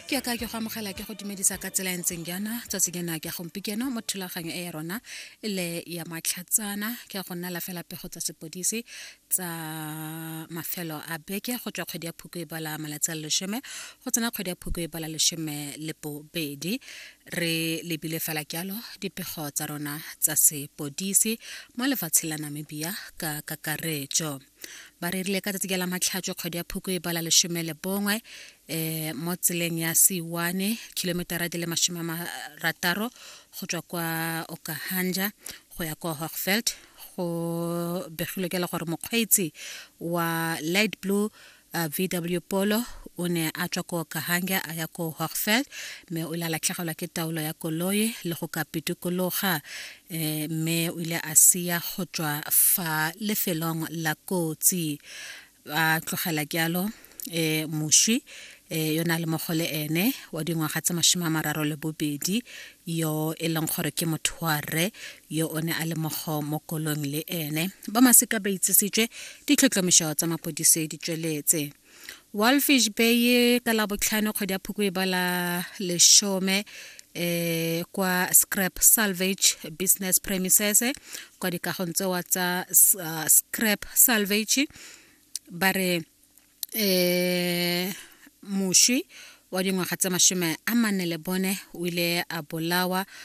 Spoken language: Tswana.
Ke ka ke go amogela, ke go dumedisa ka tsela e ntseng jaana tsatsi lena ke gompieno mo thulaganyo e ya rona e le ya matlhatsana. Ke go nnela fela pego tsa sepodisi tsa mafelo a beke go tswa kgwedi ya Phukwi e bala malatsi a le 10 go tsena kgwedi ya Phukwi e bala 12. Re lebile fela jalo dipego tsa rona tsa sepodisi mo lefatsheng la Namibia ka kakaretso. Ba rerile ka tsatsi la Matlhatso, kgwedi ya Phukwi e bala 11, mo tseleng ya C1, kilometara di le 60 go tswa kwa Okahandja go ya kwa Hochfeld, go begilwe ke le gore mokgweetsi wa light blue VW Polo o ne a tswa ko Kahanga a ya ko Hochfeld, mme o ile a latlhegelwa ke taolo ya koloi le go ka pitikologa, mme o ile a sia go tswa fa lefelong la kotsi, a tlogela jalo moswi yo na le mogo le ene wa dingwaga tse 32, yo e leng gore ke motho wa rre yo o ne a le mogo mo kolong le ene. Ba masika ba itsisitswe, ditlhotlhomišo tsa mapodisi di tsweletse. Walfish Bay ka la botlhano, kgwedi ya Phukwi e bala 10, kwa scrap salvage business premises, kwa dikagong tsewa tsa scrap salvage, ba re moswi wa dingwaga tse 44 o ile a bolawa.